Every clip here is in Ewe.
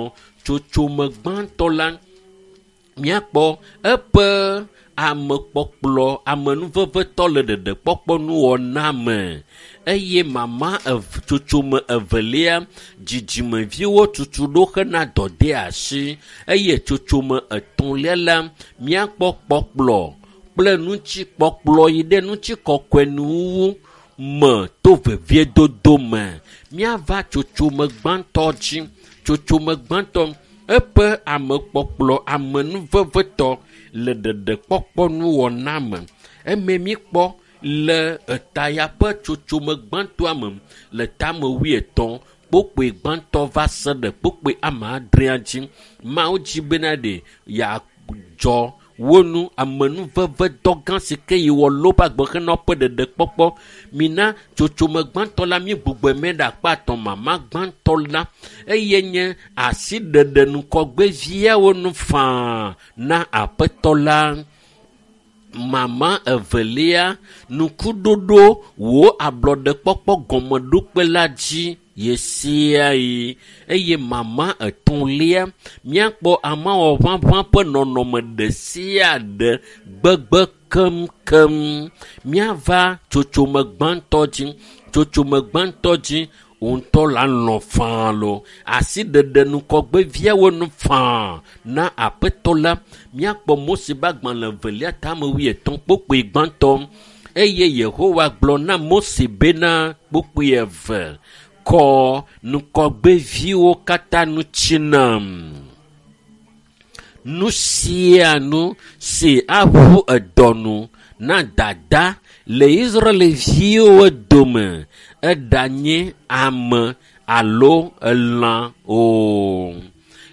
etɔ̃. Tsotsome gbãtɔ la, míakpɔ eƒe amekpɔkplɔ amenuvevetɔ le ɖeɖekpɔkpɔ nuwɔna me eye mama ev tsotsome evelia dzidzimeviwo tutu ɖo hena dɔdeasi eye tsotsome etɔ̃lia la míakpɔ kpɔkplɔ kple ŋutikpɔkplɔ yi ɖe ŋutikɔkɔe nuwuwu me to veviedodo me. Míava tsotsome gbãtɔ dzi. Tsotsome gbãtɔ eƒe amekpɔkplɔ amenuvevetɔ le ɖeɖekpɔkpɔ nuwɔna me. Eme míkpɔ le eta ya ƒe tsotsome gbãtɔa me le tame wuietɔ̃ kpokpoe gbãtɔ va se ɖe kpokpoe ame adrea dzi. Mawu dzi bena ɖe yeadzɔ wo nu amenuveve dɔ gã si ke yi wɔ le woƒe agbe hena woƒe ɖeɖekpɔkpɔ. Mina tsotsome gbãtɔ la mígbugbɔe me ɖe akpa etɔ̃ mama gbãtɔ la eye nye asiɖeɖe ŋgɔgbeviawo nu faa na aƒetɔ la. Mama evelia nukuɖoɖo wò ablɔɖekpɔkpɔ gɔmeɖokpe la dzi ɣe sia ɣi eye mama etɔ̃lia míakpɔ amawɔʋaʋã ƒe nɔnɔme ɖe sia ɖe gbegbe keŋkeŋ. Míava tsotsome gbãtɔ dzi. Tsotsome gbãtɔ dzi wò ŋutɔ la lɔ̃ faa loo. Asiɖeɖe ŋgɔgbeviawo nu faa na aƒetɔ la. Míakpɔ Mose ƒe agbalẽ evelia tame wuietɔ̃ kpokpoe gbãtɔ eye Yehowa gblɔ na Mose bena kpokpoe eve kɔ ŋgɔgbeviwo katã ŋuti nam. Nu sia nu si aʋu edɔ nu na dada le Israelviwo dome eɖanye ame alo elã o.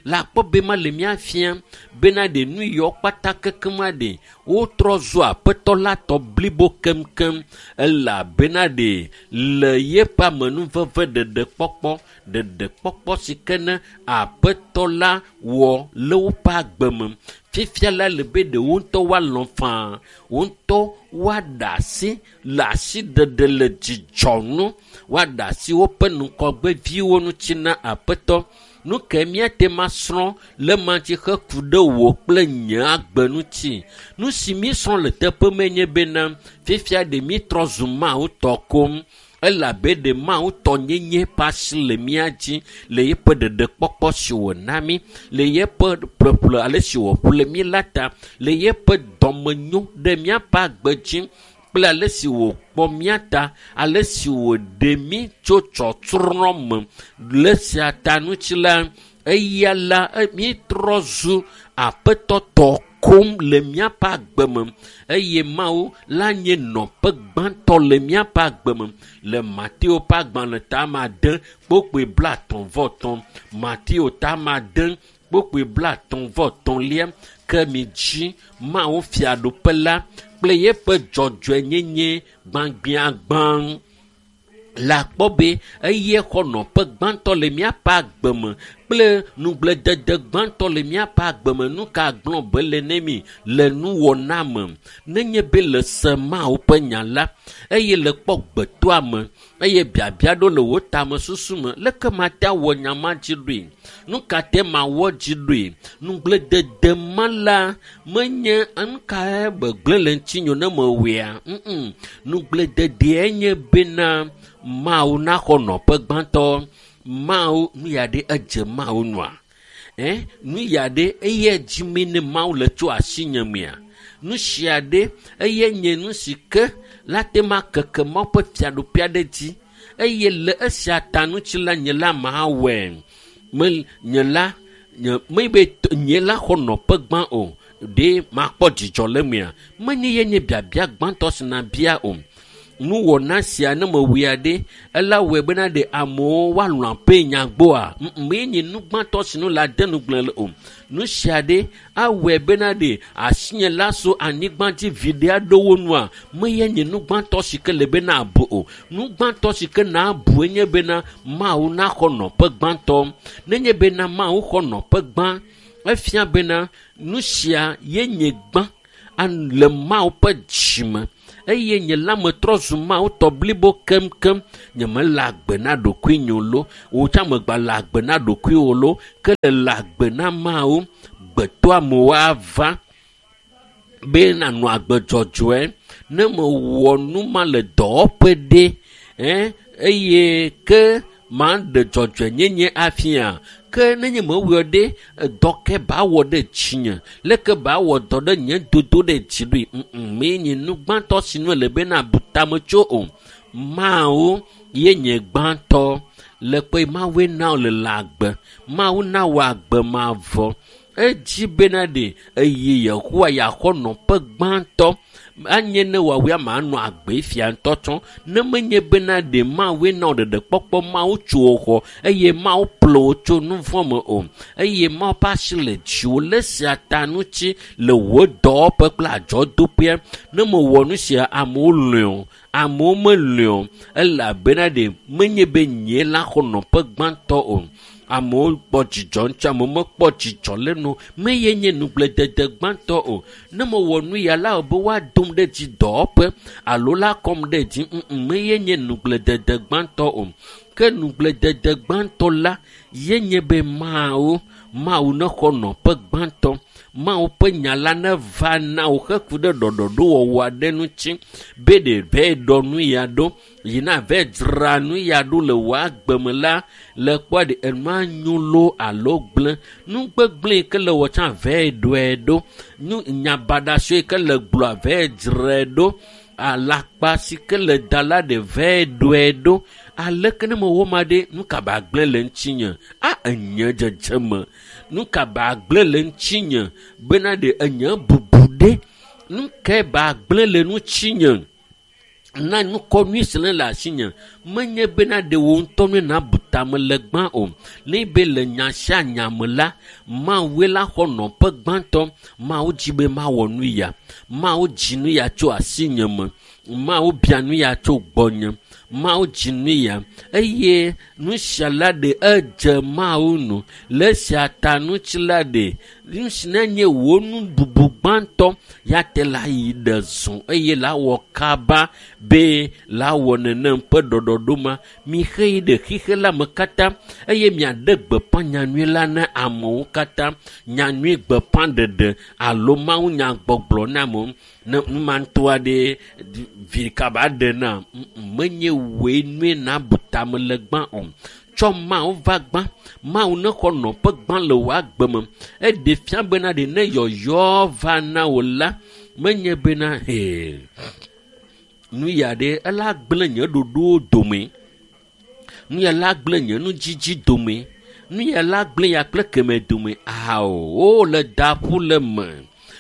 Le akpɔ be ma le mía fia bena ɖe nu yawo kpata kekem ɖe wotrɔ zu aƒetɔ la tɔ blibo keŋkeŋ elabena ɖe le yeƒe amenuveve ɖeɖekpɔkpɔ ɖeɖekpɔkpɔ si ke ne aƒetɔ la wɔ le woƒe agbe me. Fifia la le be ɖe wo ŋutɔ woalɔ̃ faa wo ŋutɔ woaɖe asi le asiɖeɖe le dzidzɔ nu woaɖe asi woƒe ŋgɔgbeviwo ŋuti na aƒetɔ. Nu ke míate ŋu asrɔ̃ le ema dzi heku ɖe wò kple nye agbe ŋuti. Nu si míesrɔ̃ le teƒe me nye bena fifia ɖe mítrɔ zu Mawu tɔ koŋ elabe ɖe Mawu tɔ nyenye ƒe asi le mía dzi le yeƒe ɖeɖekpɔkpɔ si wòna mí, le yeƒe ƒleƒle ale si wòƒle mí la ta, le yeƒe dɔmenyo ɖe míaƒe agbe dzi kple ale si wòkpɔ mía ta, ale si wòɖe mí tso tsɔtsrɔ̃ me le esia ta ŋuti la, eya la mítrɔ zu aƒetɔ tɔ koŋ le míaƒe agbe me eye Mawu la nye nɔƒe gbãtɔ le míaƒe agbe me le Mateo ƒe agbalẽ tame ade kpokpoe blaetɔ̃ vɔ etɔ̃. Mateo tame ade kpokpoe blaetɔ̃ vɔ etɔ̃lia ke midzi Mawu fiaɖuƒe la kple yeƒe dzɔdzɔenyenye gbãgbiagbã. Le akpɔ be eye xɔ nɔƒe gbãtɔ le míaƒe agbe me kple nugbledede gbãtɔ le míaƒe agbe me. Nu ka gblɔ be le ne mi le nuwɔna me nenye be le se Mawu ƒe nya la eye le kpɔ gbetoa me eye biabia ɖo le wò tamesusu me leke mate awɔ nya ma dzi ɖoe? Nu ka te mawɔ dzi ɖoe? Nugbledede ma la menye nu kae gbegblẽ le ŋutinye ne mewɔea? Mm Nugbelededea nye bena Mawu naxɔ nɔƒe gbãtɔ. Mawu nu ya ɖe edze Mawu nua? Ɛ nu ya ɖe eye dzime ne Mawu le tso asinye mea? Nu sia ɖe eye nye nu si ke la te ma keke Mawu ƒe fiaɖuƒea ɖe dzi eye le esia ta ŋuti la nye la mawɔe. Me nye la nye mebe nye la xɔ nɔƒe gbã o ɖe makpɔ dzidzɔ le mea? Menye ye nye biabia gbãtɔ si nabia o. Nuwɔna sia ne mewɔe ɖe ela wɔe bena ɖe amewo woalɔ̃ aƒe nyagboa? Mee nye nu gbãtɔ si nu la de nugblẽ le o. Nu sia ɖe awɔe bena ɖe asinye la so anyigba dzi viɖe aɖewo nua? Meye nye nu gbãtɔ si ke le be nabu o. Nu gbãtɔ si ke nabu enye bena Mawu naxɔ nɔƒe gbãtɔ. Nenye bena Mawu xɔ nɔƒe gbã, efia bena nu sia ye nye gbã le Mawu ƒe dzime. Eye nye la metrɔ zu Mawu tɔ blibo keŋkeŋ. Nyemele agbe na ɖokuinye o lo. Wò tsã megba le agbe na ɖokuiwò lo. Ke le agbe na Mawu. Gbetɔamewo ava be nanɔ agbe dzɔdzɔe. Ne mewɔ nu ma le dɔwɔƒe ɖe, eye ke maɖe dzɔdzɔenyenye afia. Ke nenye mewɔe ɖe, dɔ ke ba wɔ ɖe dzinye. Leke ba wɔ dɔ ɖe nye dodo ɖe dzi ɖoe. Mee nye nu gbãtɔ si nu ele be nabu tame tso o. Mawu ye nye gbãtɔ. Le kpe Mawue na wò le agbe. Mawu na wò agbe mavɔ. Edzi bena ɖe eye Yehowa yeaxɔ nɔƒe gbãtɔ. Anye ne woawoe manɔ agbe fia ŋutɔ tsɔ. Ne menye bena ɖe Mawue na wò ɖeɖekpɔkpɔ, Mawu tso wò xɔ eye Mawu ƒle wò tso nu vɔ̃ me o. Eye Mawu ƒe asi le dziwò le esia ta ŋuti le wò dɔwɔƒe kple adzɔdoƒea. Ne mewɔ nu sia, amewo lɔ̃e o, amewo melɔ̃e o. Elabena ɖe menye be nye la xɔ nɔƒe gbãtɔ o. Amewo kpɔ dzidzɔ ŋuti, amewo mekpɔ dzidzɔ le nu. Meye nye nugbledede gbãtɔ o. Ne mewɔ nu ya la be woadom ɖe dzi dɔwɔƒe alo la kɔm ɖe dzi, meye nye nugbledede gbãtɔ o. Ke nugbledede gbãtɔ la ye nye be Mawu, Mawu nexɔ nɔƒe gbãtɔ. Mawu ƒe nya la neva na wò heku ɖe ɖɔɖɔɖowɔwɔ aɖe ŋuti be ɖe vɛ ɖɔ nu ya ɖo, yina vɛ dzra nu ya ɖo le wò agbe me la, le kpɔ ɖe enua nyo loo alo gblẽ. Nu gbegblẽ yi ke le wɔ tsã vɛ ɖɔe ɖo. Nu nyabaɖa si ke le gblɔa vɛ dzrae ɖo. Alakpa si ke le da la ɖe vɛ ɖɔe ɖo. Aleke ne mewɔ ma ɖe, nu ka ba gblẽ le ŋutinye? A enye dzedzeme. Nu ka ba gblẽ le ŋutinye bena ɖe enye bubu ɖe? Nu kae ba gblẽ le ŋutinye? Na nukɔ nyui si le asinye. Menye bena ɖe wò ŋutɔ nue nabu tame le gbã o. Ne be le nya sia nya me la, Mawue la xɔ nɔƒe gbãtɔ. Mawu dzi be mawɔ nu ya. Mawu dzi nu ya tso asinye me. Mawu bia nu ya tso gbɔnye. Mawu dzi nu ya. Eye nu sia la ɖe edze Mawu nu. Le esia ta ŋuti la ɖe, nu si nenye wò nu bubu gbãtɔ ya te la yi ɖe zɔ eye la wɔ kaba be la wɔ nenem ƒe ɖɔɖɔɖo ma. Mixe yi ɖe xixe la me katã eye miaɖe gbeƒã nyanyui la na amewo katã. Nyanyui gbeƒã ɖeɖe alo Mawu nyagbɔgblɔ na amewo. Ne nu ma ŋutɔ aɖe vi kaba ɖe na, menye wòe nue nabu tame le gbã o. Tsɔ Mawu va gbã. Mawu nexɔ nɔƒe gbã le wò agbe me. Eɖe fia bena ɖe ne yɔyɔ va na wò la, menye bena he nu ya ɖe ela gblẽ nye ɖoɖowo dome. Nu ya la gblẽ nye nudzidzi dome. Nu ya la gblẽ ya kple keme dome. Ao, wole da ƒu le me.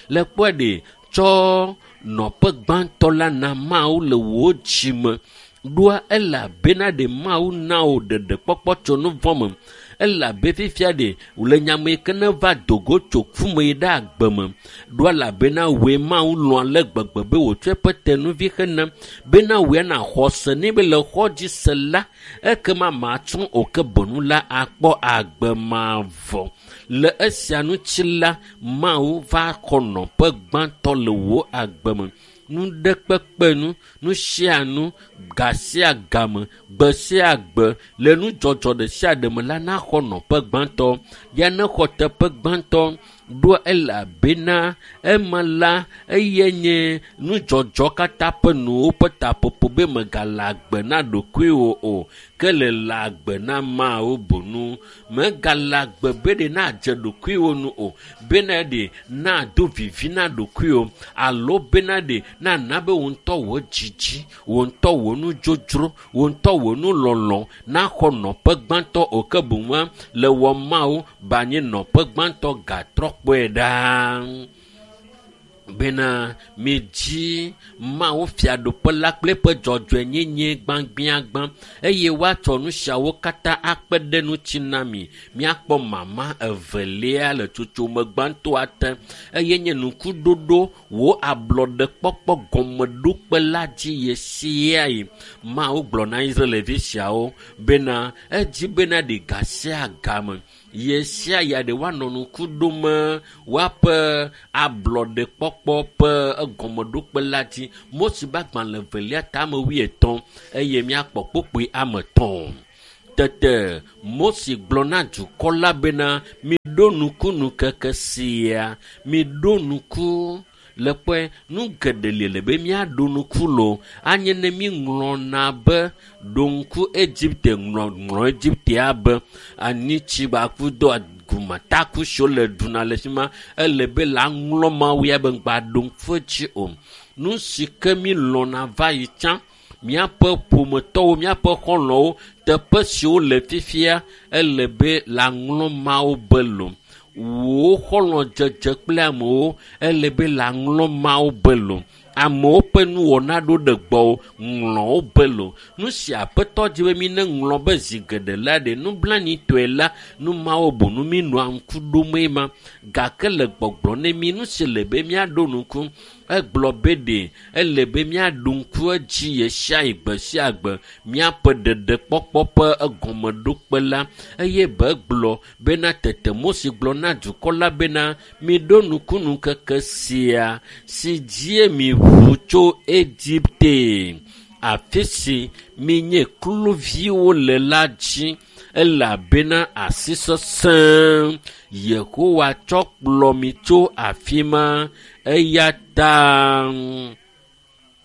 Le kpɔe ɖe, tsɔ nɔƒe gbãtɔ la na Mawu le wò dzi me. Ɖoa elabena ɖe Mawu na wò ɖeɖekpɔkpɔ tso nu vɔ̃ me. Elabe fifia ɖe wòle nyame yi ke ne va dogo tso ku me yi ɖe agbe me. Ɖoa elabena wòe Mawu lɔ̃ ale gbegbe be wòtsɔ eƒe tenuvi hena bena wòe naxɔ se nɛ be le xɔ dzi se la, ekema matsrɔ̃ o ke boŋ la akpɔ agbe mavɔ. Le esia ŋuti la, Mawu va xɔ nɔƒe gbãtɔ le wò agbe me. Nu ɖe kpekpe nu, nu sia nu, ga sia game, gbe sia gbe, le nudzɔdzɔ ɖe sia ɖe me la naxɔ nɔƒe gbãtɔ. Ya nexɔ teƒe gbãtɔ ɖoa elabena ema la eye nye nudzɔdzɔ katã ƒe nuwo ƒe taƒoƒo be megale agbe na ɖokuiwò o, ke le le agbe na Mawu boŋu. Megale agbe be ɖe nadze ɖokuiwò nu o, bena ɖe nado vivi na ɖokuiwò alo bena ɖe nana be wò ŋutɔ wò dzidzi, wò ŋutɔ wò nudzodzro, wò ŋutɔ wò nulɔlɔ̃ naxɔ nɔƒe gbãtɔ o, ke boŋua le wɔ Mawu ba nye nɔƒe gbãtɔ gatrɔ kpɔe ɖaa. Bena midzi Mawu fiaɖuƒe la kple eƒe dzɔdzɔenyenye gbãgbiagbã eye woatsɔ nu siawo katã akpe ɖe ŋuti na mi. Míakpɔ mama evelia le tsotsome gbãtɔa te eye nye nukuɖoɖo wò ablɔɖekpɔkpɔ gɔmeɖokpe la dzi ɣe sia ɣi. Mawu gblɔ na Israelvi siawo bena edzi bena ɖe ga sia game. Yesia ya ɖe woanɔ ŋku ɖom woaƒe ablɔɖekpɔkpɔ ƒe egɔmeɖokpe la dzi. Mose ƒe agbalẽ evelia tame 50 eye míakpɔ kpukpui ame 3. Tete Mose gblɔ na dukɔ la bena, miɖo ŋku ŋkeke sia, miɖo ŋku le kpɔe nu geɖe li le be míaɖo ŋku lo. Anye ne míŋlɔna be ɖo ŋku Egipte, ŋlɔ Egiptea be anyitsi gbakudo gumataku siwo le ɖuna le fi ma, ele be la ŋlɔ Mawu ya be ŋgba ɖo ŋku edzi o. Nu si ke mílɔ̃na va yi tsã, míaƒe ƒometɔwo, míaƒe xɔlɔ̃wo, teƒe siwo le fifia, ele be la ŋlɔ Mawu be lo. Wò xɔlɔ̃dzedze kple amewo, ele be la ŋlɔ Mawu be lo. Amewo ƒe nuwɔna ɖo ɖe gbɔwò, ŋlɔ wo be lo. Nu si Aƒetɔ di be mi ne ŋlɔ be zi geɖe la ɖe nublanitɔe la, nu mawo boŋ mi nɔa ŋku ɖomee ma. Gake le gbɔgblɔ ne mi, nu si le be míaɖo ŋku, egblɔ be ɖe ele be míaɖo ŋku edzi ɣe sia ɣi, gbe sia gbe, míaƒe ɖeɖekpɔkpɔ ƒe egɔmeɖokpe la. Eye be egblɔ bena tete Mose gblɔ na dukɔ la bena, miɖo ŋku ŋkeke sia si dzie mi ʋu tso Egipte, afi si minye kluviwo le la dzi, elabena asi sesẽ Yehowa tsɔ kplɔ mi tso afi ma. Eya ta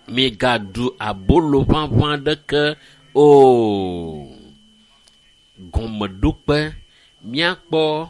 migaɖu abolo ʋaʋã ɖeke o. Gɔmeɖokpe, míakpɔ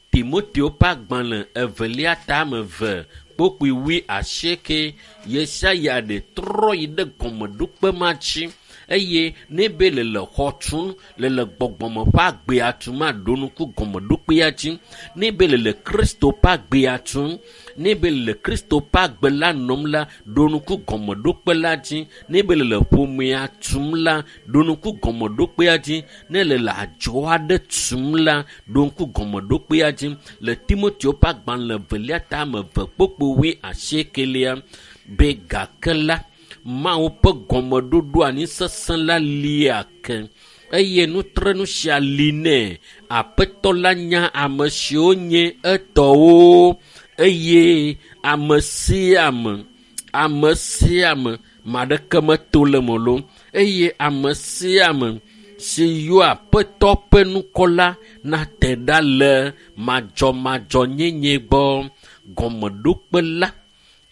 Timoteo ƒe agbalẽ evelia tame 2 kpukpui 8. Yesaya ɖe trɔ yi ɖe gɔmeɖokpe ma dzi eye ne be le le xɔ tum, le le gbɔgbɔme ƒe agbea tum, aɖo ŋku gɔmeɖokpea dzi. Ne be le le Kristo ƒe agbea tum, ne be le le Kristo ƒe agbe la nɔm la, ɖo ŋku gɔmeɖokpe la dzi. Ne be le le ƒomea tum la, ɖo ŋku gɔmeɖokpea dzi. Ne le le adzɔ aɖe tum la, ɖo ŋku gɔmeɖokpea dzi. Le Timoteo ƒe agbalẽ evelia tame 2 kpukpui 8 be gake la, Mawu ƒe gɔmeɖoɖo anyi sesẽ la lia ke eye nutrenu sia li nɛ. Aƒetɔ la nya ame siwo nye etɔwo eye ame sia ame, ame sia ame, ame aɖeke meto le eme o eye ame sia ame si yɔ Aƒetɔ ƒe ŋkɔ la nate ɖa le madzɔmadzɔnyenye gbɔ. Gɔmeɖokpe la,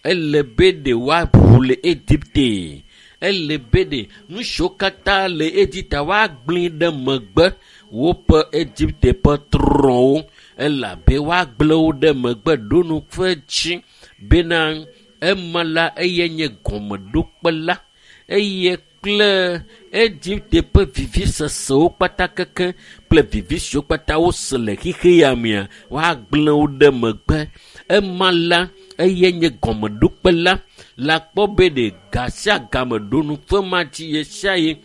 ele be ɖe woaʋu le Egipte. Ele be ɖe nu siwo katã le Egipte woagblẽ ɖe megbe woƒe Egipte ƒe trɔ̃wo, elabe woagblẽ wo ɖe megbe ɖo ŋku edzi bena ema la eye nye gɔmeɖokpe la eye kple Egipte ƒe vivisesewo kpata keke kple vivi siwo kpata wose le xexe ya mea, woagblẽ wo ɖe megbe. Ema la eye nye gɔmeɖokpe la. La kpɔ be ɖe ga sia game ɖo ŋku ema dzi ɣe sia ɣi.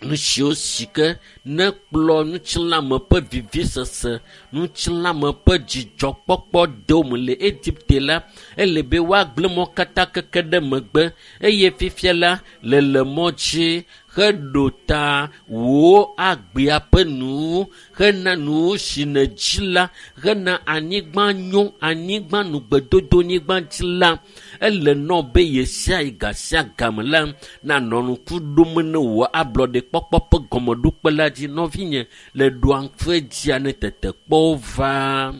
Nu siwo si ke ne kplɔ ŋutilãme ƒe vivisese, ŋutilãme ƒe dzidzɔkpɔkpɔ dome le Egipte la, ele be woagblẽ mɔ katã keke ɖe megbe eye fifia la le le mɔ dzi heɖo ta wò agbea ƒe nuwo, hena nuwo si nèdzi la, hena anyigba nyo, anyigba nugbedodo nyigba dzi la, ele nɔ be ɣe sia ɣi ga sia game la nanɔ ŋku ɖom ne wò ablɔɖekpɔkpɔ ƒe gɔmeɖokpe la dzi. Nɔvinye, le ɖoa ŋku edzia ne tetekpɔwo va.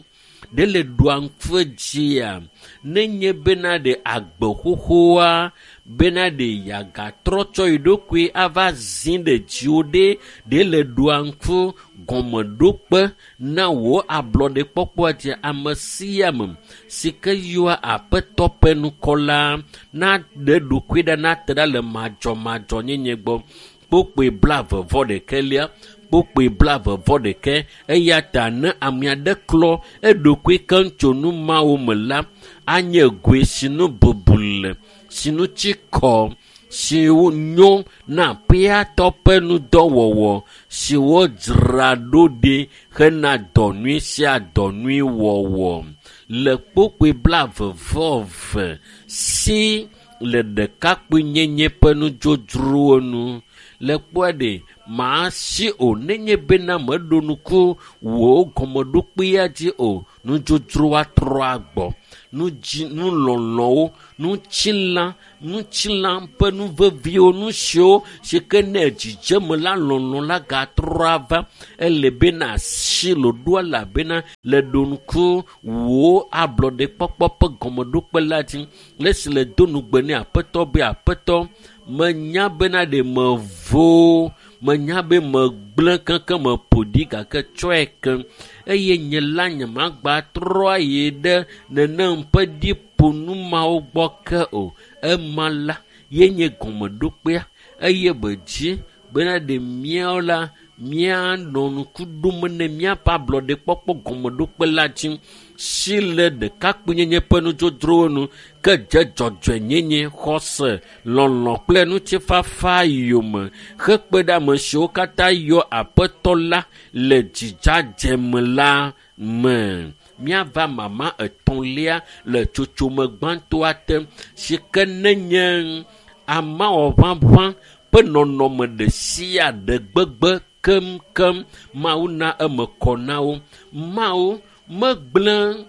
Ɖe le ɖoa ŋku edzia nenye bena ɖe agbe xoxoa, bena ɖe yeagatrɔ tsɔ yi ɖokui ava zi ɖe dziwò ɖe, ɖe le ɖoa ŋku gɔmeɖokpe na wò ablɔɖekpɔkpɔa dzi. Ame sia ame si ke yɔa Aƒetɔ ƒe ŋkɔ la naɖe ɖokui ɖa, nate ɖa le madzɔmadzɔnyenye gbɔ. Kpukpui 21, kpukpui 21. Eya ta ne ame aɖe klɔ eɖokui keŋ tso nu mawo me la, anye goe si nu bubu le, si nu tsi kɔ, si nyo na Aƒetɔ ƒe ŋudɔwɔwɔ, si wodzra ɖo ɖi hena dɔ nyui sia dɔ nyui wɔwɔ. Le kpukpui 22 si le ɖekakpuinyenye ƒe nudzodzrowo nu. Le kpɔe ɖe màsi o nenye bena meɖo nuku wò gɔmeɖokpea dzi o. Nudzodzroa trɔ agbɔ. Nudzi nulɔlɔwo, nutsilã, nutsilã ƒe nu veviwo, nu siwo si ke ne dzidzeme la lɔlɔ la gatrɔ ava. Ele bena si ɖoɖoa elabena le ɖo ŋku wò ablɔɖekpɔkpɔ ƒe gɔmeɖokpe la dzi. Le esi le do nugbe ne aƒetɔ be aƒetɔ menya bena ɖe mevo menya be megblẽ keŋkeŋ meƒo ɖi gake tsɔe ke eye nye la nyemagba trɔ ayi ɖe nenem ƒe ɖiƒonu mawo gbɔ ke o. Ema la ye nye gɔmeɖokpea eye be dzi bena ɖe míawo la míanɔ ŋku ɖom ne míaƒe ablɔɖekpɔkpɔ gɔmeɖokpe la dzi si le ɖekakpuinyenye ƒe nudzodzrowo nu ke dze dzɔdzɔenyenye, xɔse, lɔlɔ kple ŋutifafa yome hekpe ɖe ame siwo katã yɔ aƒetɔ la le dzidzadze me la me. Míava mama etɔ̃lia le tsotsome gbãtɔa te si ke nenye amawɔʋaʋã ƒe nɔnɔme ɖe sia ɖe gbegbe keŋkeŋ. Mawu na eme kɔ na wo. Mawu megblẽ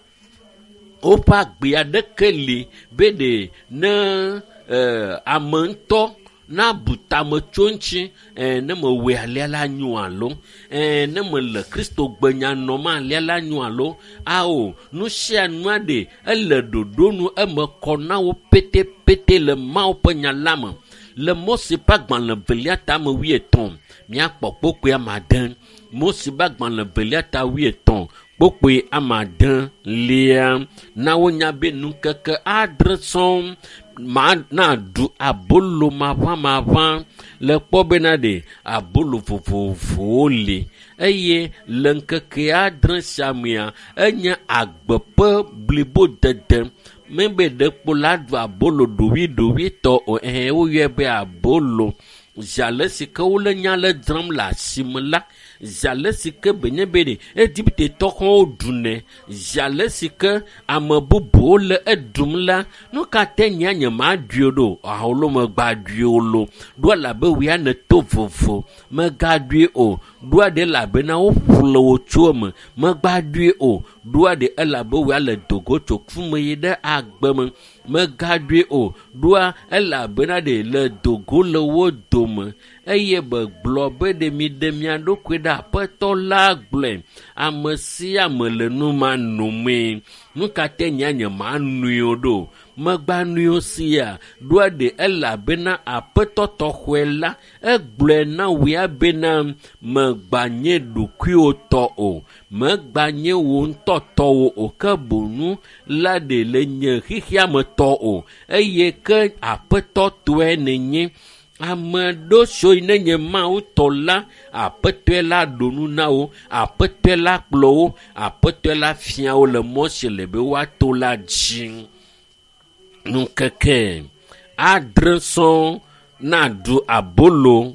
woƒe agbe aɖeke li be ɖe ne ame ŋutɔ nabu tame tso ŋuti ne mewɔe alea la nyo alo ne mele Kristo gbenya nɔm alea la nyo alo ao nu sia nua ɖe ele ɖoɖo nu eme kɔ na wo petepete le Mawu ƒe nya la me. Le Mose ƒe agbalẽ velia tame wuietɔ̃ míakpɔ kpokpoe ame ade. Mose ƒe agbalẽ velia ta wuietɔ̃ kpokpoe ame ade lia na wonya be ŋkeke adre sɔŋ ma naɖu abolo maʋamaʋã le kpɔ bena ɖe abolo vovovowo li eye le ŋkeke adre sia mea enye agbe ƒe blibodede. Mebe ɖekpo la ɖu abolo ɖoɖoeɖoɖoetɔ o ɛhɛ woyɔe be abolo. Zi ale si ke wole nya le dzram le asime la, zi ale si ke benye be ɖe Egiptetɔ xɔwo ɖunɛ, zi ale si ke ame bubuwo le eɖum la, nu ka te nyea nyemaɖui o ɖo? Alo megbaɖui o lo. Ɖo elabe wòya nèto vovo. Megaɖui o. Ɖoa ɖe elabena woƒle wò tso eme. Megbaɖui o. Ɖoa ɖe elabe wòya le dogo tso ku me yi ɖe agbe me. Megaɖui o. Ɖoa elabena ɖe le dogo le wo dome eye begblɔ be ɖe miɖe mia ɖokui ɖe aƒetɔ la gblɔe. Ame sia ame le nu ma nomee. Nu ka te nyea nyemanui o ɖo? Megbanui o sia. Ɖoa ɖe elabena aƒetɔ tɔxɔe la egblɔe na wòya bena megbanye ɖokuiwò tɔ o. Megbanye wò ŋutɔ tɔwò o ke boŋu la ɖe le nye xexea me tɔ o eye ke aƒetɔ tɔe nènye. Ame ɖo siwo nenye Mawu tɔ la, aƒetɔe la ɖo nu na wo, aƒetɔe la kplɔ wo, aƒetɔe la fia wo le mɔ si le be woato la dzi. Ŋkeke adre sɔŋ naɖu abolo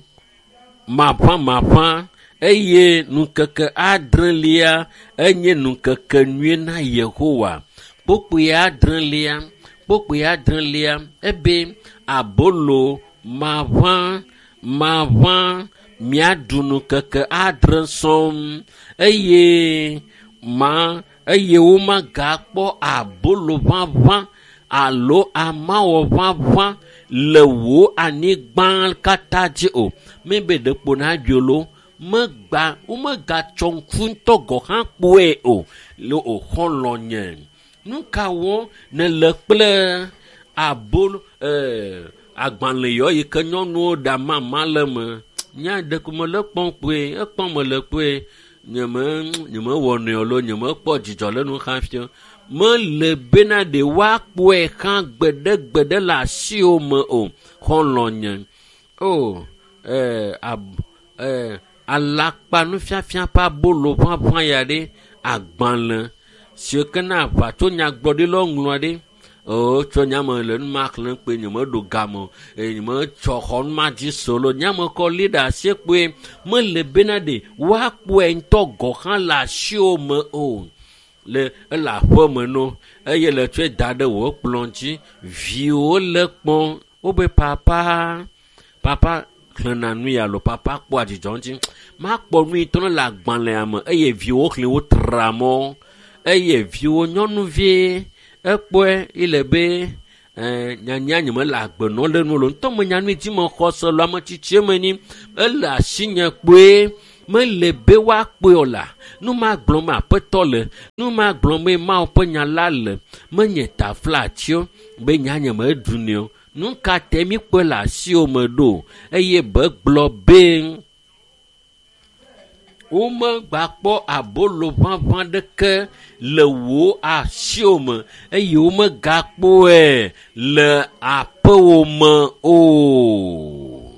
maʋamaʋã eye ŋkeke adrelia enye ŋkeke nyui na Yehowa. Kpokpoe adrelia, kpokpoe adrelia ebe abolo maʋã maʋã miaɖu ŋkeke adre sɔŋ eye ma eye womagakpɔ abolo ʋaʋã alo amawɔ ʋaʋã le wò anyigba katã dzi o. Mebe ɖekpo naɖui lo megba womegatsɔ ŋku ŋutɔ gɔ̃ hã kpɔe o le o xɔlɔ̃ nye. Nu ka wɔm nèle kple abolo agbalẽ yɔ yi ke nyɔnuwo ɖa mama le me? Nya ɖeko mele kpɔm kpoe, ekpɔm mele kpoe. Nyeme nyemewɔ nɛ o lo, nyemekpɔ dzidzɔ le nu hafi o. Mele bena ɖe woakpɔe hã gbeɖegbeɖe le asiwò me o. Xɔlɔ̃ nye. O ab alakpa nufiafia ƒe abolo ʋaʋã ya ɖe agbalẽ si ke na aʋatso nyagblɔɖilawo ŋlɔ ɖi. O tsɔ nyame le nu ma xlẽm kpoe nyemeɖo game o eye nyemetsɔ xɔ nu ma dzi se o lo. Nyame kɔ li ɖe asi kpoe mele bena ɖe woakpɔe ŋutɔ gɔ̃ hã le asiwò me o. Le ele aƒe me no eye le tsɔe da ɖe wò kplɔ dzi. Viwo le kpɔm wobe papa papa Xlẽna nu ya lo papa kpɔa dzidzɔ ŋuti. Makpɔ nu yi tɔna le agbalẽa me eye viwo xlẽ wo tra mɔ eye viwo nyɔnuvi ekpɔe ile be nyanya nye mele agbe nɔ le nu lo ŋutɔ menya nu yi dzi mexɔ se lo ame tsitsie me ni ele asinye kpoe mele be woakpɔe o la nu ma gblɔm aƒetɔ le nu ma gblɔm Mawu ƒe nya la le menye taflatio be nya nye meɖunɛ o. Nu ka te míkpɔe le asiwò me ɖo eye be gblɔ be womegbakpɔ abolo ʋaʋã ɖeke le wò asiwò me eye womegakpɔe le aƒewò me o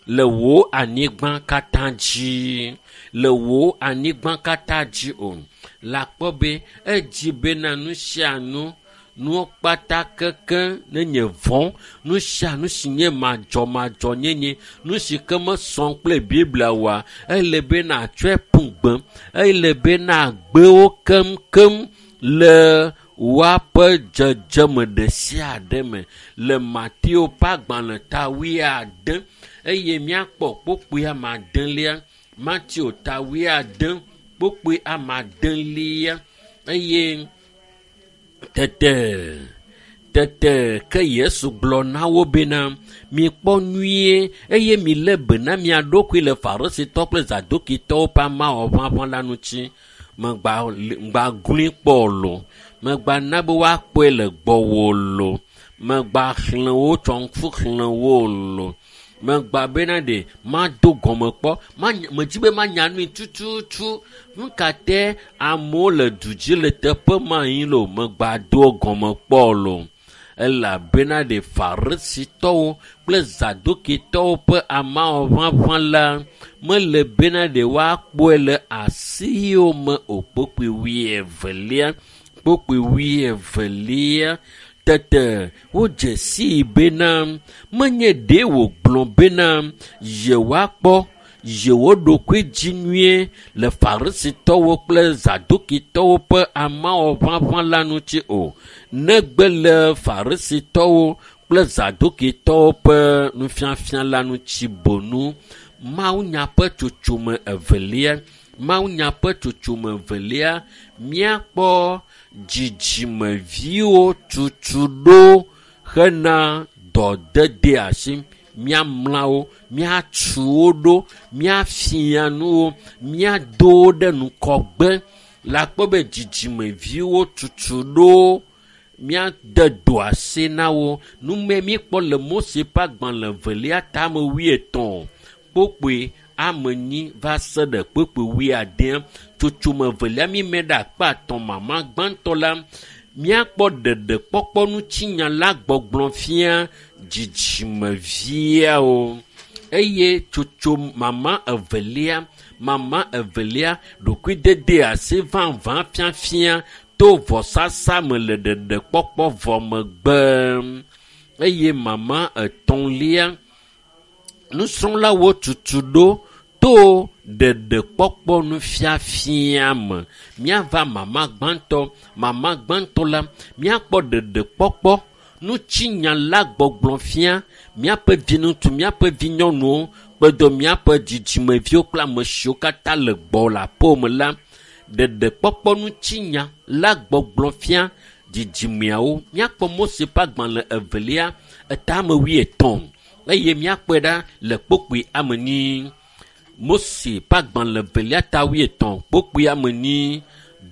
le wò anyigba katã dzi le wò anyigba katã dzi o. Le akpɔ be edzi bena nu sia nu nuwo kpata keke nenye vɔ̃ nu sia nu si nye madzɔmadzɔnyenye nu si ke mesɔ kple Biblia oa ele be natsɔe ƒu gbe ele be nagbe wo keŋkeŋ le woaƒe dzedzeme ɖe sia ɖe me le Mateo ƒe agbalẽ ta wuiade eye míakpɔ kpukpui ame adelia Mateo ta wuiade kpukpui ame adelia eye tete ke Yesu gblɔ na wo bena mikpɔ nyuie eye milé be na mia ɖokui le Farisitɔ kple Zadukitɔwo ƒe amawɔʋaʋã la ŋuti. Megba glui kpɔ lo, megba na be woakpɔe le gbɔwò lo, megba xlẽ wo tsɔ ŋku xlẽ wo lo, megba bena ɖe mado gɔme kpɔ medzi be manya nui tututu nu ka te amewo le du dzi le teƒe ma yi lo megba do gɔme kpɔ lo elabena ɖe Farisitɔwo kple Zadukitɔwo ƒe amawɔʋaʋã la mele bena ɖe woakpɔe le asiwo me o. Kpukpui wuieve, tete wodze sii bena menye ɖe wògblɔ bena yewoakpɔ yewo ɖokui dzi nyuie le Farisitɔwo kple Zadukitɔwo ƒe amawɔʋaʋã la ŋuti o negbe le Farisitɔwo kple Zadukitɔwo ƒe nufiafia la ŋuti bonu. Mawunya ƒe tsotsome evelia míakpɔ dzidzimeviwo tutu ɖo hena dɔdede asi. Míamla wo, míatu wo ɖo, míafia nu wo, míado wo ɖe ŋgɔgbe. Le akpɔ be dzidzimeviwo tutu ɖo míade do asi na wo. Nume míekpɔ le Mose ƒe agbalẽ evelia tame wuietɔ̃ kpukpui ame enyi va se ɖe kpukpui wuiade. Tsotsome evelia míme ɖe akpa atɔ̃ mama gbãtɔ la míakpɔ ɖeɖekpɔkpɔ ŋutinya la gbɔgblɔ fia dzidzimeviawo eye tsotso mama evelia ɖokuidede asi vavã fiafia to vɔsasa me le ɖeɖekpɔkpɔ vɔ megbe eye mama etɔ̃lia nusrɔ̃lawo tutu ɖo to ɖeɖekpɔkpɔ nufiafia me. Míava mama gbãtɔ la míakpɔ ɖeɖekpɔkpɔ ŋutinya la gbɔgblɔ fia míaƒe viŋutsu, míaƒe vinyɔnuwo kpedo míaƒe dzidzimeviwo kple ame siwo katã le gbɔ le aƒewò me la ɖeɖekpɔkpɔ ŋutinya la gbɔgblɔ fia dzidzimeawo. Míakpɔ Mose ƒe agbalẽ evelia etame wuietɔ̃ eye míakpɔe ɖa le kpukpui ame enyi. Mose ƒe agbalẽ evelia ta wuietɔ̃ kpukpui ame enyi.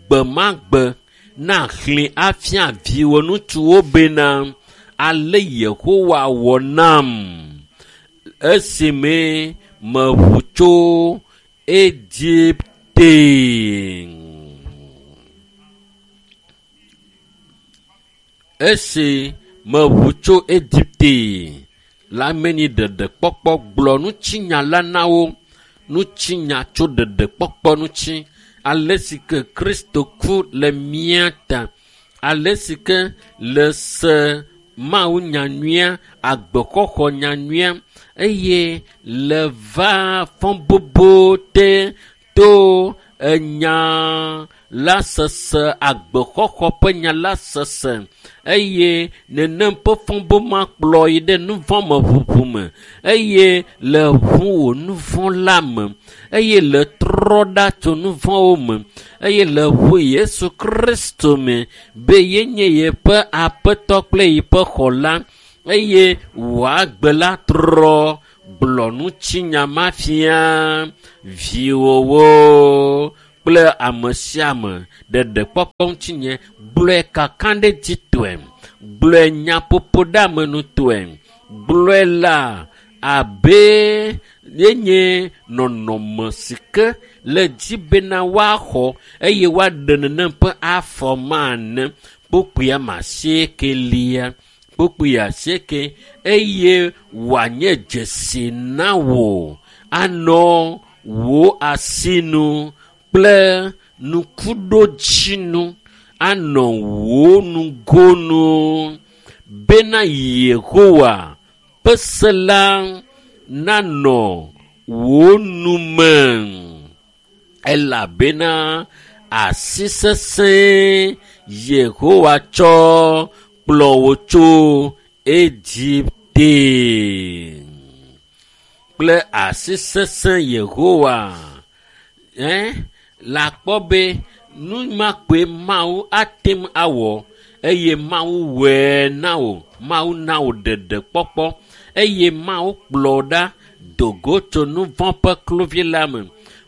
Gbe ma gbe naxlẽ afia viwò ŋutsuwo bena ale Yehowa wɔ nam esime meʋu tso Egipte. Esi meʋu tso Egipte la meni ɖeɖekpɔkpɔ gblɔ ŋutinya la na wo. Ŋutinya tso ɖeɖekpɔkpɔ ŋuti ale si ke Kristo ku le mía ta ale si ke le se Mawu nyanyuia agbexɔxɔ nyanyuia eye le va fɔbubu te to enya la sese, agbexɔxɔ ƒe nya la sese, eye nenem ƒe fɔbo ma kplɔ yi ɖe nuvɔ̃ me ʋuʋu me, eye le ʋu wò nuvɔ̃ la me, eye le trɔ ɖa tso nuvɔ̃wo me, eye le ʋu Yesu Kristo me be yenye yeƒe aƒetɔ kple yeƒe xɔla, eye wò agbe la trɔ. Gblɔ ŋutinya ma fia viwòwo kple ame sia ame. Ɖeɖekpɔkpɔ ŋutinye gblɔe kakaɖedzitɔe, gblɔe nyaƒoƒoɖeamenutɔe, gblɔe la abe yenye nɔnɔme si ke le dzi bena woaxɔ eye woaɖe nenem ƒe afɔ ma ene. Kpukpui ame asiekelia, kpukpui asieke, eye wòanye dzesi na wò anɔ wò asinu kple nukuɖodzinu anɔ wò nugonu bena Yehowa ƒe se la nanɔ wò nume, elabena asi sesẽ Yehowa tsɔ kplɔ wò tso Egipte. Kple asi sesẽ Yehowa la kpɔ be nu ma koe Mawu ate ŋu awɔ, eye Mawu wɔe na wò. Mawu na wò ɖeɖekpɔkpɔ, eye Mawu kplɔ ɖa do go tso nuvɔ̃ ƒe kluvi la me.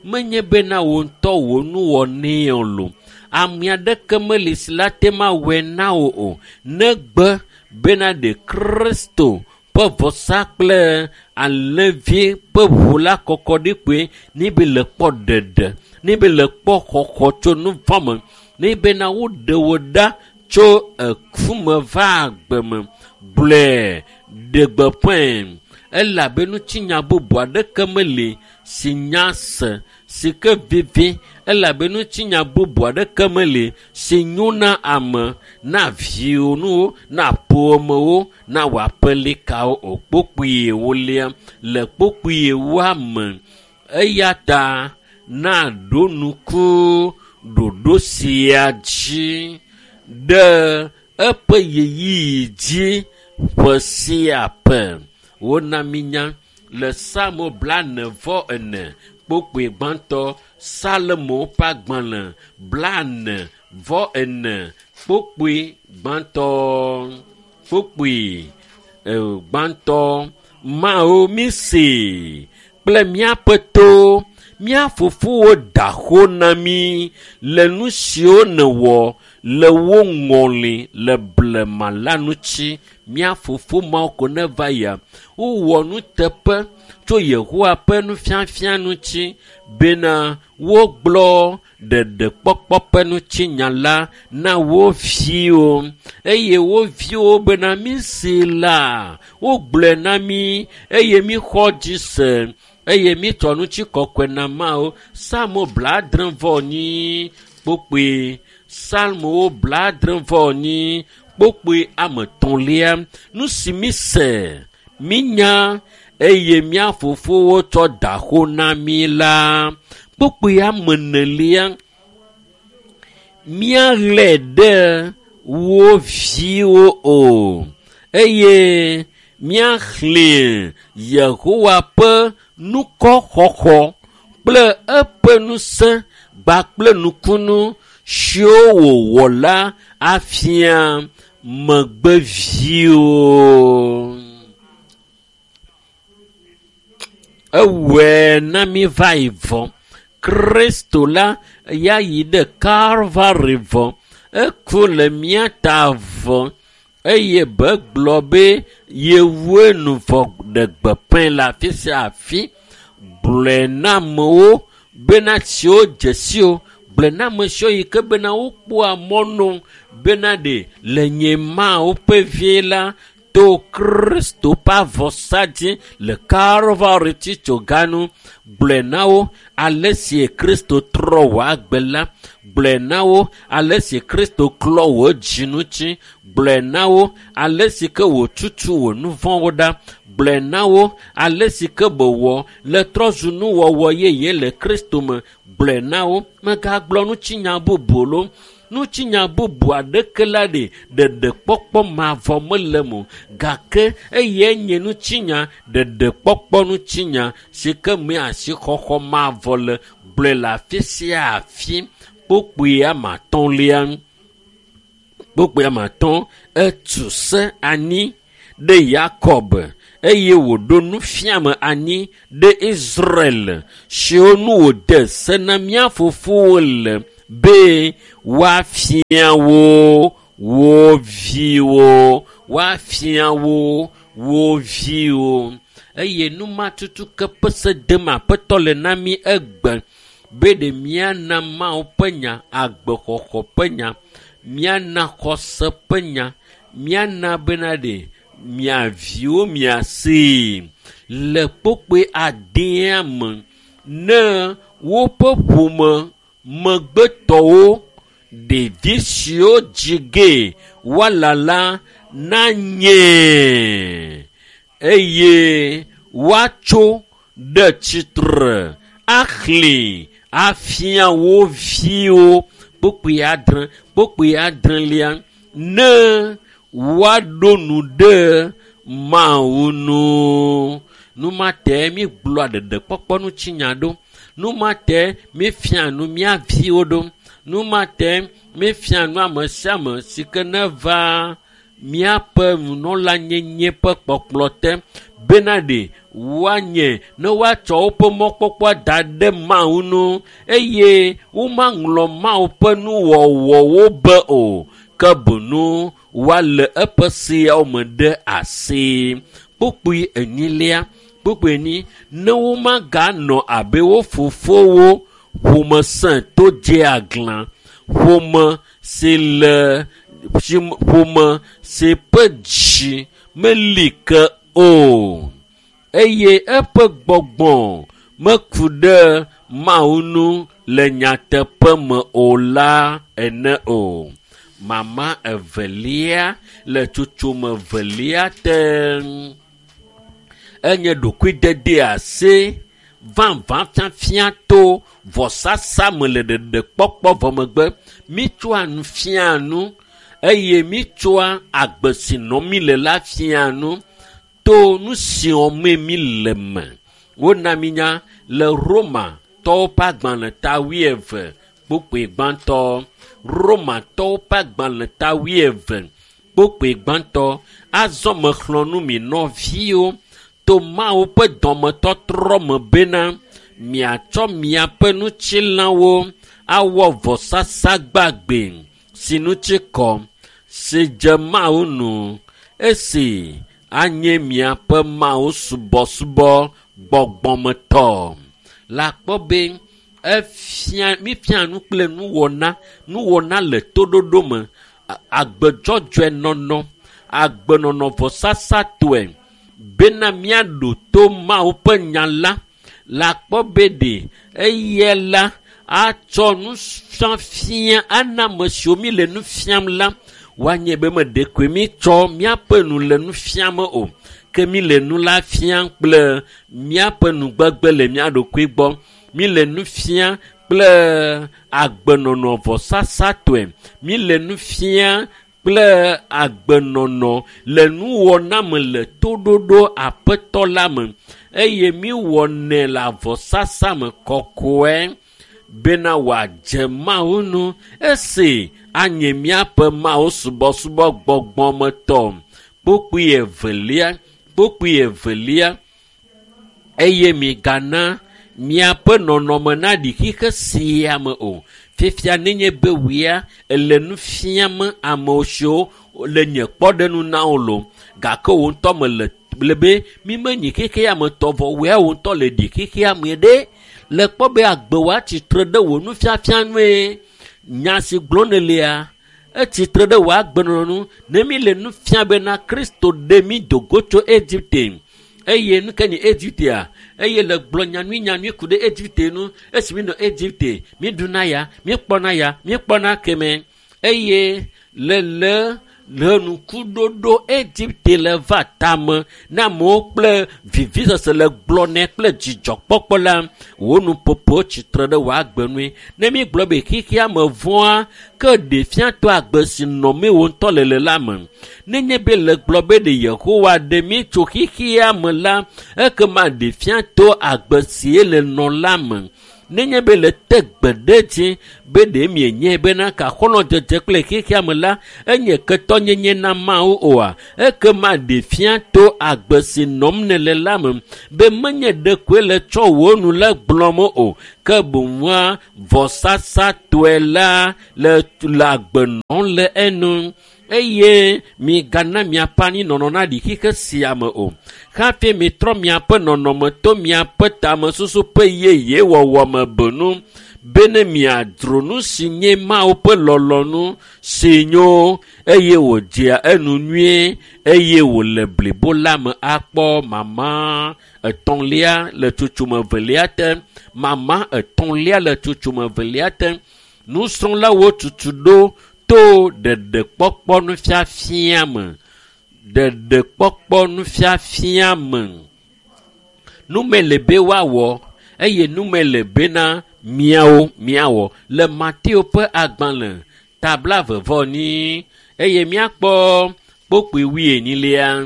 Menye bena wò ŋutɔ wò nuwɔnɛ o lo. Ame aɖeke meli si la te ŋu awɔe na wò o, negbe bena ɖe Kristo ƒe vɔsa kple alẽvi ƒe ʋu la kɔkɔ ɖi koe ne be le kpɔ ɖeɖe, ne be le kpɔ xɔxɔ tso nuvɔ̃ me, ne bena woɖe wò ɖa tso eku me va agbe me. Gblɔe, ɖe gbeƒãe, elabe ŋutinya bubu aɖeke meli si nya se si ke vivi, elabe ŋutinya bubu aɖeke meli si nyo na ame, na viwò nuwo, na ƒomewo, na wò aƒelikawo o. Kpukpui ewolia le kpukpui ewoa me. Eya ta na ɖo ŋku ɖoɖo sia dzi ɖe eƒe ɣeyiɣi dzi ƒe sia ƒe. Wona mínya le Psalmo 44 kpukpui gbãtɔ, Salomo ƒe agbalẽ 44 kpukpui gbãtɔ, kpukpui gbãtɔ. Mawu mísee kple míaƒe to, mía fofowo da xo na mí le nu siwo nèwɔ le wo ŋɔli le blema la ŋuti. Mía fofo mawo ko neva yia, wowɔ nuteƒe tso Yehowa ƒe nufiafia ŋuti bena wogblɔ ɖeɖekpɔkpɔ ƒe ŋutinya la na wo viwo, eye wo viwo bena mísee la, wogblɔe na mí eye míxɔ dzi se, eye mítsɔ ŋutikɔkɔe na Mawu. Psalmo 74 kpukpui, Psalmowo 74 kpukpui ame etɔ̃lia. Nu si míse, mínya, eye mía fofowo tsɔ da xo na mí la. Kpukpui ame enelia, míalé ɖe wo viwo o, eye míaxlẽ Yehowa ƒe nukɔxɔxɔ kple eƒe ŋusẽ kpakple nukunu siwo wòwɔ la afia megbeviwo. Ewɔe na mí va yi vɔ. Kristo la ya yi ɖe Kalvari vɔ. Eku le mía ta vɔ, eye be gblɔ be yewoe nu vɔ ɖe gbeƒãe le afi sia afi. Gblɔe na amewo bena siwo dze si wo, gblɔe na ame siwo yi ke bena wokpɔa mɔnu bena ɖe le nye Mawu ƒe vie la to Kristo ƒe avɔsa dzi le Kalvari tsitsoganu. Gblɔe na wo ale si Kristo trɔ wò agbe la. Gblɔe na wo ale si Kristo klɔ wò dzi ŋuti. Gblɔe na wo ale si ke wòtutu wò nuvɔ̃wo ɖa. Gblɔe na wo ale si ke bewɔ le trɔzu nuwɔwɔ yeye le Kristo me. Gblɔe na wo. Megagblɔ ŋutinya bubu lo. Ŋutinya bubu aɖeke la ɖe ɖeɖekpɔkpɔ mavɔ mele me o. Gake eyae nye ŋutinya ɖeɖekpɔkpɔ ŋutinya si ke me asixɔxɔ mavɔ le. Gblɔe le afi sia afi. Kpukpui ame atɔ̃lia. Kpukpui ame atɔ̃ etu se anyi ɖe Yakob eye wòɖo nufiame anyi ɖe Israel siwo nu wòde se na mía fofowo le be woafia wo wo viwo woafia wo wo viwo eye numatutu ke ƒe se dem aƒetɔ le na mí egbe be ɖe míana Mawu ƒe nya, agbexɔxɔ ƒe nya, míana xɔse ƒe nya, míana bena ɖe mia viwo miasee le kpokpoe adea me ne woƒe ƒome megbetɔwo ɖevi siwo dzi ge woala la nanye eye woatso ɖe tsitre axlẽ afia wo viwo kpokpoe adre kpokpoe adrelia ne woaɖo nu ɖe Mawu nu. Numate mi gblɔa ɖeɖekpɔkpɔ ŋutinya ɖo. Numate mi fia nu mía viwo ɖo. Numate mi fia nu ame sia ame si ke neva míaƒe nunɔlanyenye ƒe kpɔkplɔ te bena ɖe woanye ne woatsɔ woƒe mɔkpɔkpɔ da ɖe Mawu nu eye womaŋlɔ Mawu ƒe nuwɔwɔwo be o ke boŋ woale eƒe seawo me ɖe asi. Kpukpui enyilia, kpukpui enyi, ne womaganɔ abe wo fofowo ƒome sẽ to dze aglã, ƒome si le ƒome si ƒe dzi meli ke o eye eƒe gbɔgbɔ meku ɖe Mawu nu le nyateƒe me o la ene o. Mama evelia le tsotsome evelia te enye ɖokuidede asi vavã fiafia to vɔsasa me le ɖeɖekpɔkpɔ vɔ megbe. Mitsɔa nu fia nu eye mitsɔa agbe si nɔm mi le la fia nu to nu si wɔmee mi le me. Wona mi nya le Romatɔwo ƒe agbalẽ ta wuieve kpukpui gbãtɔ. Romatɔwo ƒe agbalẽ ta wuieve kpukpui gbãtɔ. Azɔ mexlɔ̃ nu mi nɔviwo to Mawu ƒe dɔmetɔtrɔ me bena miatsɔ miaƒe ŋutilãwo awɔ vɔsasa gbagbe si ŋuti kɔ si dze Mawu nu esi anye miaƒe Mawu subɔsubɔ gbɔgbɔmetɔ. Le akpɔ be efia mifia nu kple nuwɔna nuwɔna le toɖoɖo me agbedzɔdzɔe nɔnɔ agbenɔnɔ vɔsasatɔe bena míaɖo to Mawu ƒe nya la le akpɔ be ɖe eye la atsɔ nufiafia ana ame siwo mi le nu fiam la woanye be meɖe koe mitsɔ míaƒe nu le nu fiam o ke mi le nu la fiam kple míaƒe nugbegbe le mía ɖokui gbɔ. Mi le nu fiam kple agbenɔnɔ vɔsasatɔe. Mi le nu fiam kple agbenɔnɔ le nuwɔna me le toɖoɖo aƒetɔ la me eye mi wɔnɛ le avɔsasa me kɔkɔe bena wòadze Mawu nu esi anye míaƒe Mawu subɔsubɔ gbɔgbɔmetɔ. Kpukpui evelia, kpukpui evelia eye migana miaƒe nɔnɔme naɖi xixe sia me o. Fifia nenye be wòya ele nu fiam amewo siwo le nye kpɔɖeŋu na wo lo gake wo ŋutɔ mele le be mi menyi xexea me tɔ vɔ wòya wo ŋutɔ le ɖi xexea me ɖe le kpɔ be agbe wòa tsitre ɖe wò nufiafia nue nya si gblɔm nèlea etsitre ɖe wò agbenɔnɔ nu ne mi le nu fiam bena Kristo ɖe mi do go tso Egipte eye nu ke nye Egiptea eye le gblɔ nyanui nyanui ku ɖe Egipte nu esi mi nɔ Egipte mi ɖuna ya mi kpɔna ya mi kpɔna keme eye le le Le nukuɖoɖo Egipte le va tame na amewo kple vivisese le gblɔnɛ kple dzidzɔkpɔkpɔ la, wò nuƒoƒo tsitre ɖe wò agbe nue. Ne mígblɔ be xexea me vɔ̃a, ke ɖe fia to agbe si nɔmee wò ŋutɔ le le la me. Nenye be le gblɔ be ɖe Yehowa ɖe mí tso xexea me la, ekema ɖe fia to agbe si le nɔ la me. Nenye be le te gbe ɖe dzi be ɖe mienyae bena kaxɔlɔ̃dzedze kple xexea me la enye ketɔnyenye na Mawu oa, ekema ɖe fia to agbe si nɔm nèle la me be menye ɖekoe le tsɔ wò nu le gblɔm o, ke boŋua vɔsasatɔe la le agbe nɔm le enu. Eye migana miaƒe anyinɔnɔ naɖi xixe sia me o. Hafi mitrɔ miaƒe nɔnɔme to miaƒe tamesusu ƒe yeye wɔwɔ me benu bene miadzro nu si nye Mawu ƒe lɔlɔ̃nu si nyo eye wòdzea enu nyuie eye wòle blibo la me akpɔ mama etɔ̃lia le tsotsome evelia te. Mama etɔ̃lia le tsotsome evelia te. Nusrɔ̃lawo tutu ɖo to ɖeɖekpɔkpɔ nufiafia me. Ɖeɖekpɔkpɔ nufiafia me. Nume le be woawɔ eye nume le bena miawo miawɔ le Mateo ƒe agbalẽ ta blaeve-vɔ-enyi eye míakpɔ kpokpui wuienyilia.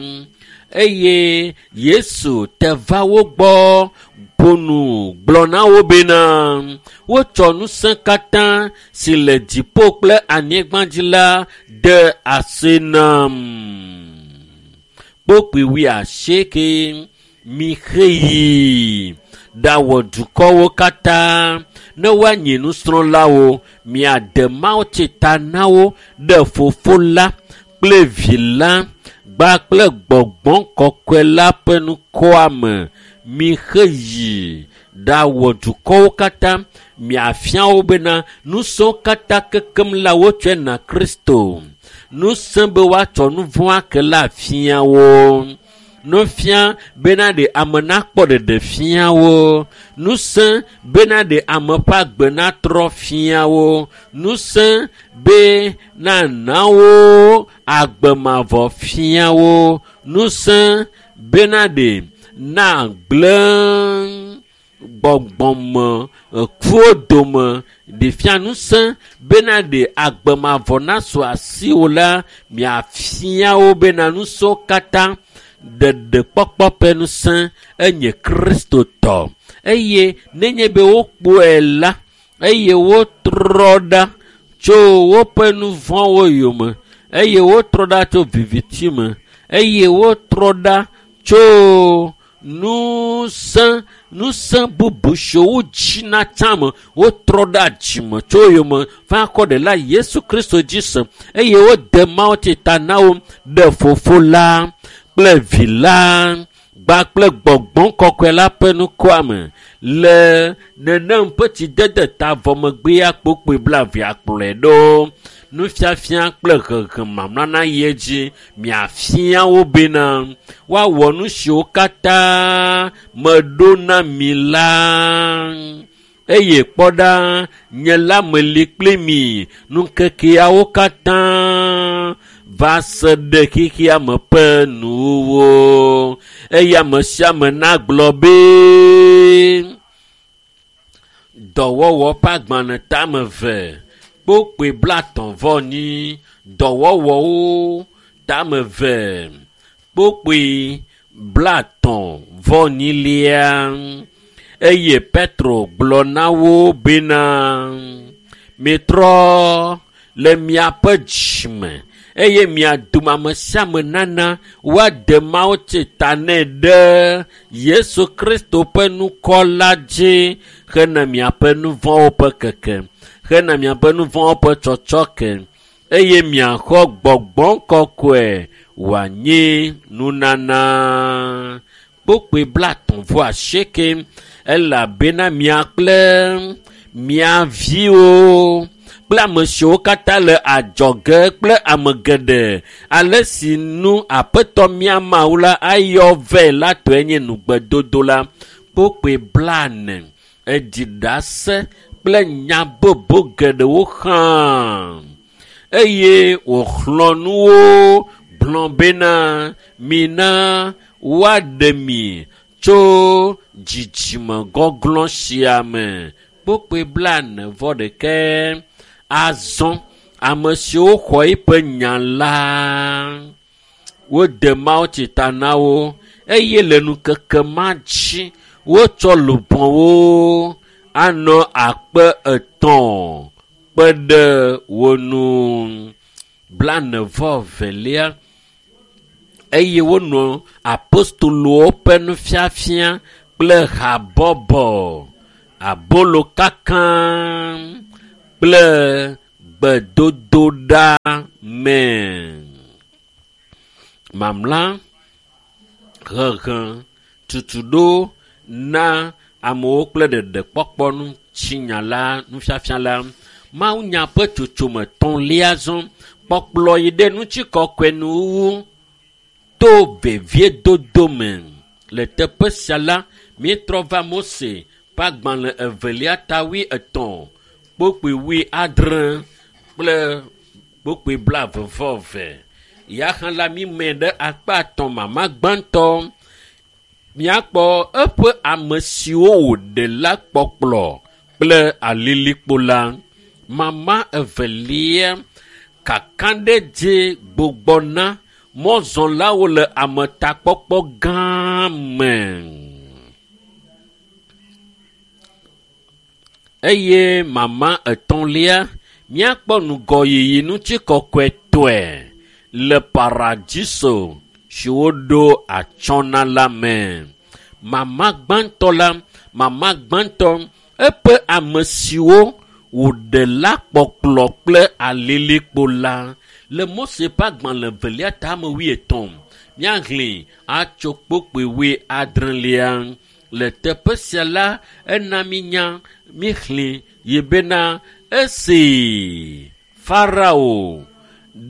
Eye Yesu te va wo gbɔ ƒo nu gblɔ na wo bena wotsɔ ŋusẽ katã si le dziƒo kple anyigba dzi la de asi nam. Kpokpui wuiasieke mixe yi ɖawɔ dukɔwo katã ne woanye nusrɔ̃lawo miade mawutsi ta na wo ɖe Fofo la kple Vi la gba kple Gbɔgbɔ Kɔkɔe la ƒe ŋkɔa me. Mixe yi ɖawɔ dukɔwo katã miafia wo bena ŋusẽwo katã kekem la wotsɔe na Kristo. Ŋusẽ be woatsɔ nu vɔ̃ ake la fia wo. Nufia bena ɖe ame nakpɔ ɖeɖe fia wo. Ŋusẽ bena ɖe ame ƒe agbe natrɔ fia wo. Ŋusẽ be nana wo agbe mavɔ fia wo. Ŋusẽ bena ɖe nagblẽ gbɔgbɔme kuwo dome ɖe fia ŋusẽ bena ɖe agbe mavɔ nasu asiwò la miafia wo bena ŋusẽwo katã ɖeɖekpɔkpɔ ƒe ŋusẽ enye Kristo tɔ. Eye nenye be wokpɔe la eye wotrɔ ɖa tso woƒe nu vɔ̃wo yome eye wotrɔ ɖa tso viviti me eye wotrɔ ɖa tso ŋusẽ ŋusẽ bubu siwo dzina tsã me wotrɔ ɖa dzime tso yome va kɔ ɖela Yesu Kristo dzi se eye wode mawutsi ta na wo ɖe Fofo la kple Vi la gba kple Gbɔgbɔ Kɔkɔe la ƒe ŋkɔa me le nenem ƒe tsidede ta vɔ megbea kpokpoe blaeve akplɔe ɖo. Nufiafia kple hehe mamla na yi edzi miafia wo bena woawɔ nu siwo katã meɖo na mi la. Eye kpɔ ɖa, nye la meli kpli mi ŋkekeawo katã va se ɖe xexea me ƒe nuwuwu. Eye ame sia ame nagblɔ be dɔwɔwɔ ƒe agbalẽ tame eve kpokpui 35 dɔwɔwɔwo tame eve kpokpui 34. Eye Petro gblɔ na wo bena mitrɔ le miaƒe dzime eye mia dome ame sia ame nana woade mawutsi ta nɛ ɖe Yesu Kristo ƒe ŋkɔ la dzi hena miaƒe nu vɔ̃wo ƒe keke, hena miaƒe nu vɔ̃wo ƒe tsɔtsɔke eye miaxɔ Gbɔgbɔ Kɔkɔe wòanye nunana. Kpokpui 38 elabena mia kple mia viwo kple ame siwo katã le adzɔge kple ame geɖe ale si nu Aƒetɔ mía Mawu la ayɔ vɛ la tɔe nye nugbedodo la. Kpokpui 40 edzi ɖase kple nya bubu geɖewo hã. eye wòxlɔ̃ nu wo gblɔ bena mina woaɖe mi tso dzidzime gɔglɔ̃ sia me. Kpokpoe 41. Azɔ ame siwo xɔ eƒe nya la, wode mawutsi ta na wo eye le ŋkeke ma dzi wotsɔ luʋɔwo anɔ 300 kpe ɖe wo ŋu. 42. Eye wonɔ apostolowo ƒe nufiafia kple habɔbɔ, abolo kaka kple gbedodoɖa me. Mamla hehe tutuɖo na amewo kple ɖeɖekpɔkpɔ ŋutinya la, nufiafia la. Mawunya ƒe tsotsome etɔ̃lia zɔ kpɔkplɔ yi ɖe ŋutikɔkɔe nuwuwu to veviedodo me. Le teƒe sia la, míetrɔ va Mose ƒe agbalẽ evelia ta 80 kpokpoe 70 kple kpokpoe 22. Ya hã la mímɛ ɖe akpa etɔ̃ mama gbãtɔ. Míakpɔ eƒe ame siwo wòɖe la kpɔkplɔ kple alilikpo la. Mama evelia kakaɖedzi gbugbɔ na mɔzɔlawo le ametakpɔkpɔ gã me. Eye mama etɔ̃lia míakpɔ ŋgɔyiyi ŋutikɔkɔetɔe le paradiso si woɖo atsyɔ̃ na la me. Mama gbãtɔ la, mama gbãtɔ eƒe ame siwo wòɖe la kpɔkplɔ kple alilikpo la. Le Mose ƒe agbalẽ evelia ta ame 80 míahlẽ atso kpokpoe 70. Le teƒe sia la, ena mínya míxlẽ yi bena esi Farao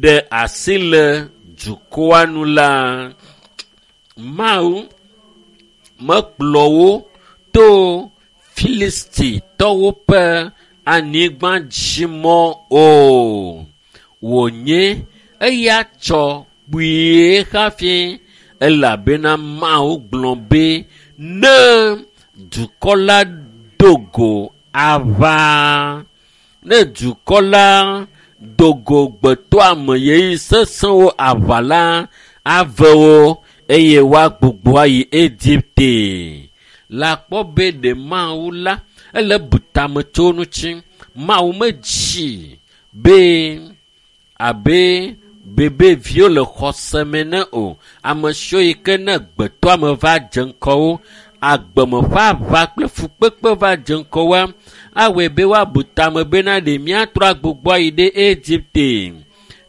ɖe asi le dukɔa nu la, Mawu mekplɔ wo to Filistitɔwo ƒe anyigbadzimɔ o. Wònye eya tsɔ kpuie hafi elabena Mawu gblɔ be ne dukɔ la do go aʋa, ne dukɔ la do go gbetɔame ɣeyiɣi sesẽwo aʋa la, ave wo eye woagbugbɔ ayi Egipte. Le akpɔ be ɖe Mawu la ele bu tame tso ŋuti. Mawu medzi be abe bebeviwo le xɔse me ne o. Ame siwo yi ke ne gbetɔame va dze ŋgɔ agbeme ƒe aʋa kple fukpekpe va dze ŋgɔ woa, awɔe be woabu tame bena ɖe míatrɔ agbugbɔ ayi ɖe Egipte.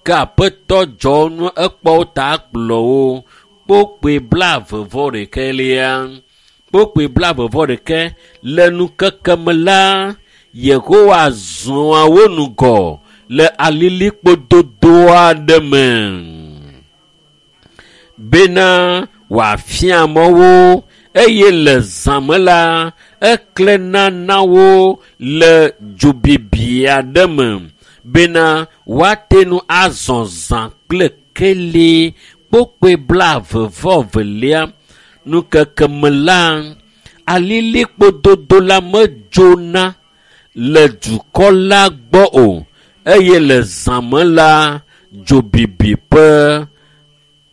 Ke Aƒetɔ dzɔ nu ekpɔ wo ta kplɔ wo. Kpokpoe 21. Kpokpoe 21 le ŋkeke me la, Yehowa zɔa wo ŋgɔ le alilikpo dodo aɖe me bena wòafia mɔ wo eye le zã me la, eklẽna na wo le dzobibi aɖe me bena woate ŋu azɔ zã kple keli. Kpokpoe 22. Ŋkeke me la, alilikpo dodo la medzona le dukɔ la gbɔ o eye le zã me la, dzobibi ƒe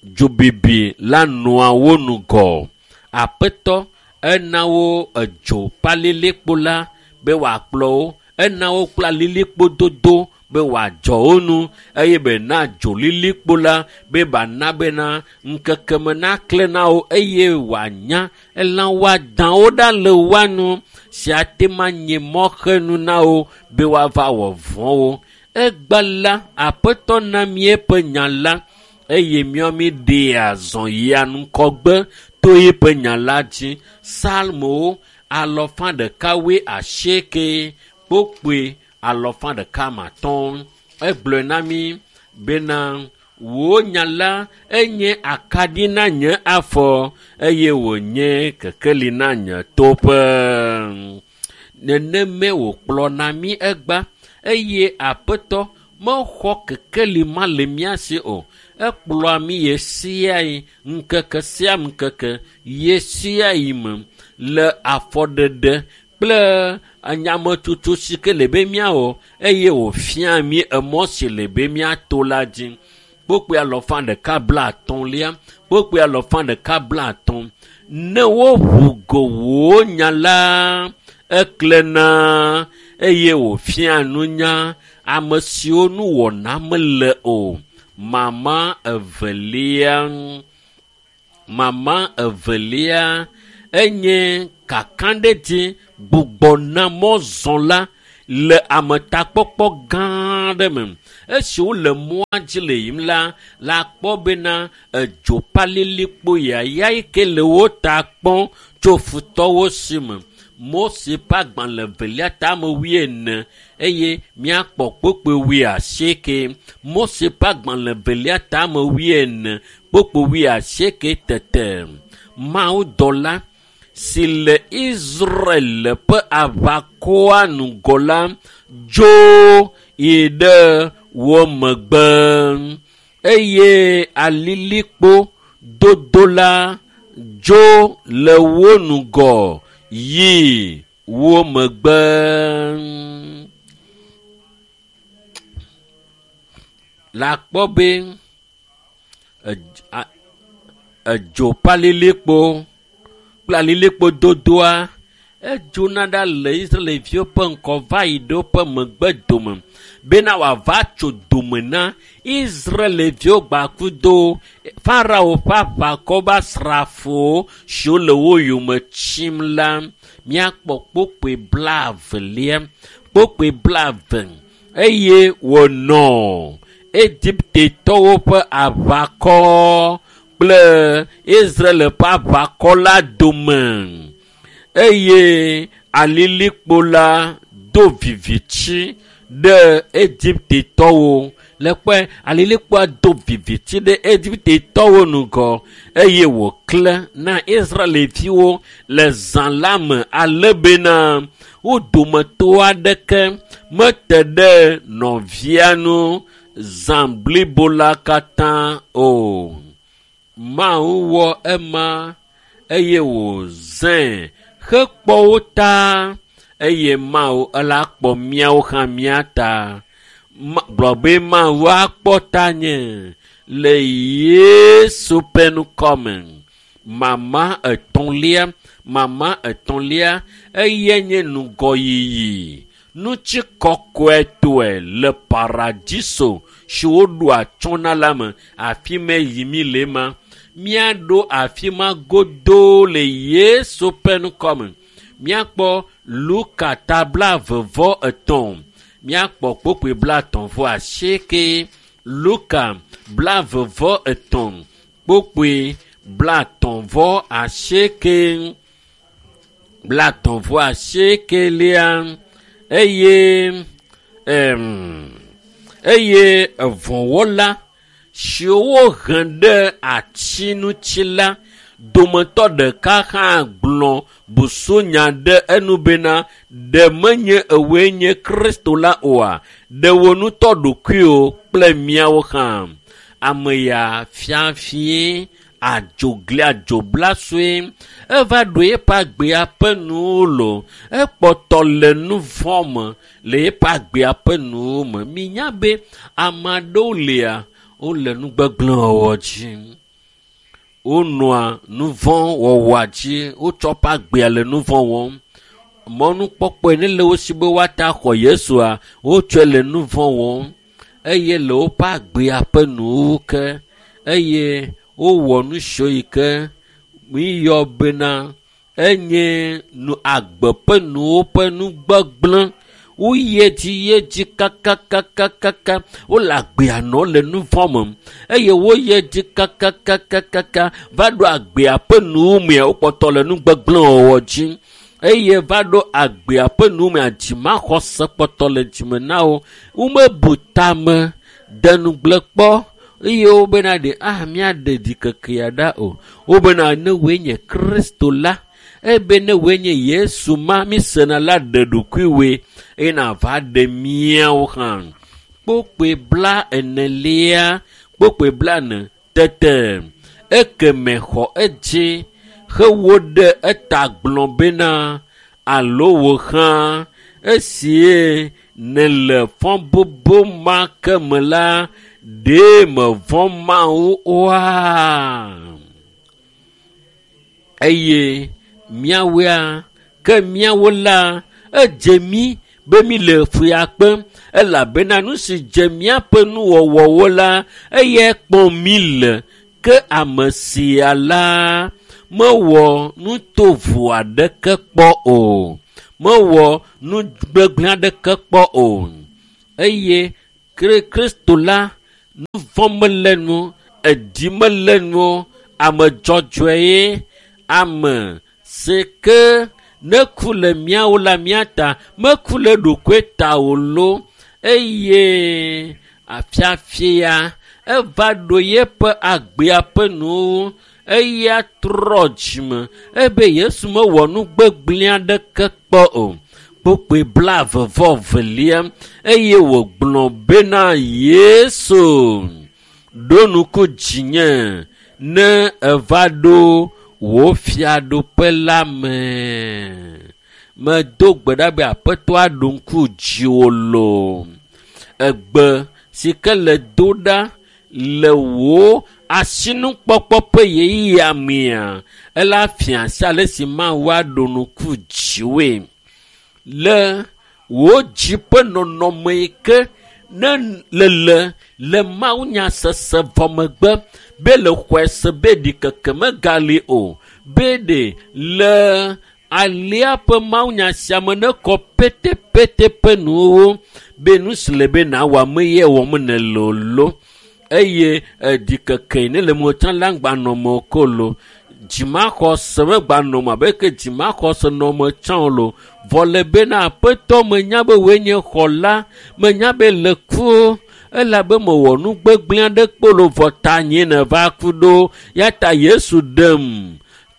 dzobibi la nɔa wo ŋgɔ. Aƒetɔ ena wo edzo ƒe alilikpo la be wòakplɔ wo. Ena wo kple alilikpo dodo be wòadzɔ wo nu eye be na dzolilikpo la be bana bena ŋkeke me naklẽ na wo eye wòanya elã woadawo ɖa le woa nu si ate ŋu anye mɔxenu na wo be woava wɔ vɔ̃ wo. Egbe la, Aƒetɔ na mí eƒe nya la eye míawo míɖea zɔ yia ŋgɔgbe to eƒe nya la dzi. Psalmowo 181 kpokpoe 150. Egblɔe na mí bena wò nya la enye akaɖi na nye afɔ eye wònye kekeli na nye toƒe. Nenemae wòkplɔna mí egba eye Aƒetɔ Mexɔ kekeli ma le mía si o. Ekplɔa mí ɣe sia ɣi, ŋkeke sia ŋkeke, ɣe sia ɣi me le afɔɖeɖe kple nyametsotso si ke le be míawɔ eye wòfia mí emɔ si le be míato la dzi. Kpokpoe alɔfa ɖeka 50lia, kpokpoe alɔfa ɖeka 50. Ne woʋu go wò nya la, eklẽna eye wòfia nunya ame siwo nuwɔna mele o. Mama evelia, mama evelia enye kakaɖedzi gbugbɔna mɔzɔla le ametakpɔkpɔ gã aɖe me. Esi wole mɔa dzi le yiyim la, la kpɔ bena edzopalilikpo yaya yi ke le wo ta kpɔm tso futɔwo si me. Mose ƒe agbalẽ evelia tame 40 eye míakpɔ kpokpoe 80. Mose ƒe agbalẽ evelia tame 40 kpokpoe 80 tete. Mawudɔla si le Israel ƒe aʋakɔa ŋgɔ la dzo yi ɖe wo megbe eye alilikpo dodo la dzo le wo ŋgɔ yi wo megbe. Le akpɔ be edzopalilikpo kple alilikpo dodoa edzona ɖa le Israelviwo ƒe ŋkɔ va yi ɖe woƒe megbe dome bena wòava tso dome na Israelviwo gbakudo Farao ƒe aʋakɔ be asrafowo siwo le wo yome tsim la. Míakpɔ kpokpoe 20lia, kpokpoe 20 eye wònɔ Egiptetɔwo ƒe aʋakɔ kple Israel ƒe aʋakɔ la dome eye alilikpo la do viviti ɖe Egiptetɔwo. Le kpɔe alilikpoa do viviti ɖe Egiptetɔwo ŋgɔ eye wòklẽ na Israelviwo le zã la me ale bena wo dometɔ aɖeke mete ɖe nɔvia ŋu zã blibo la katã o. Mawu wɔ ema eye wòzãe hekpɔ wo ta eye Mawu ela kpɔ míawo hã mía ta. Gblɔ be Mawu akpɔ tanye le Yesu ƒe ŋkɔme. Mama etɔ̃lia, mama etɔ̃lia eye nye ŋgɔyiyi nutsikɔkɔetɔe le paradiso si woɖo atsyɔ̃ na la me. Afi ma yi mí le ma. Míaɖo afi ma godoo le Yesu ƒe ŋkɔme. Míakpɔ Luka ta 23. Míakpɔ kpokpoe 38. Luka 23 kpokpoe 38. 38lia eye eye evɔ̃wɔla siwo wohe ɖe ati ŋuti la dometɔ ɖeka hã gblɔ busunya ɖe enu bena ɖe menye ewoe nye Kristo la oa? Ɖe wò ŋutɔ ɖokuiwò kple míawo hã. Ame ya fiafie adzogli adzoblasue eva ɖo eƒe agbea ƒe nuwo lo. Ekpɔtɔ le nu vɔ̃ me le eƒe agbea ƒe nuwo me. Minya be ame aɖewo lia wole nu gbegblẽ wɔwɔ dzi. Wonɔa nu vɔ̃ wɔwɔa dzi. Wotsɔ woƒe agbea le nu vɔ̃ wɔm. Mɔnukpɔkpɔe ne le wo si be woate axɔ Yesua, wotsɔe le nu vɔ̃ wɔm eye le woƒe agbea ƒe nuwo ke eye wowɔ nu siwo yi ke míyɔ bena enye nu agbe ƒe nuwo ƒe nu gbegblẽ. Woyi edzi yi edzi kakakakakaka. Wole agbea nɔ le nu vɔ̃ me eye woyi edzi kakakakakaka va ɖo agbea ƒe nuwo mea wokpɔtɔ le nu gbegblẽ wɔwɔ dzi eye va ɖo agbea ƒe nuwo mea dzimaxɔse kpɔtɔ le dzime na wo. Womebu tame de nugble kpɔ eye wobena ɖe míaɖe ɖikekea ɖa o. Wobena ne woe nye Kristo la, ebe ne woe nye Yesu ma mísena la ɖe ɖokuiwoe eye nava ɖe míawo hã. Kpokpoe 40, kpokpoe 40 tete ekeme xɔ edzi hewo ɖe eta gblɔ bena alo wò hã esie nèle fɔbubu ma ke me la ɖe mevɔ̃ Mawu oa? Eye míawoea ke míawo la edze mí be mi le fuya kpem elabena nu si dze míaƒe nuwɔwɔwo la eyae kpɔm mí le ke ame sia la mewɔ nu tovo aɖeke kpɔ o. Mewɔ nu gbegblẽ aɖeke kpɔ o. Eye Kristo la nu vɔ̃ mele nu, eɖi mele nu, ame dzɔdzɔe ye, ame si ke ne ku le míawo la mía ta, meku le ɖokoe ta o lo eye afiafia eva ɖo yeƒe agbea ƒe nuwo eya trɔ dzime ebe Yesu mewɔ nu gbegblẽ aɖeke kpɔ o. Kpokpoe 22 eye wògblɔ bena Yesu ɖo ŋku dzinye ne eva ɖo wò fiaɖuƒe la me. Medo gbe ɖa be Aƒetɔ aɖo ŋku dziwò loo. Egbe si ke le do ɖa le wò asinukpɔkpɔ ƒe ɣeyiɣia mea, ela fia asi ale si Mawu aɖo ŋku dziwòe. Le wò dzi ƒe nɔnɔme yi ke ne lele le mawunyasese vɔ megbe be le xɔe se be ɖikeke megali o be ɖe le alia ƒe mawunya sia me ne kɔ petepete ƒe nuwo be nu si le be nawɔ ame ye wɔm nèle o lo eye ɖikeke ne le mo tsã la ŋgba nɔ me ko lo dzimaxɔse megba nɔ me abe ke dzimaxɔse nɔ me tsã o lo vɔ le bena Aƒetɔ menya be wòe nye xɔla menya be le ku elabe mewɔ nu gbegblẽ aɖe kpɔ lo vɔ ta nye nèva ku ɖo ya ta Yesu ɖem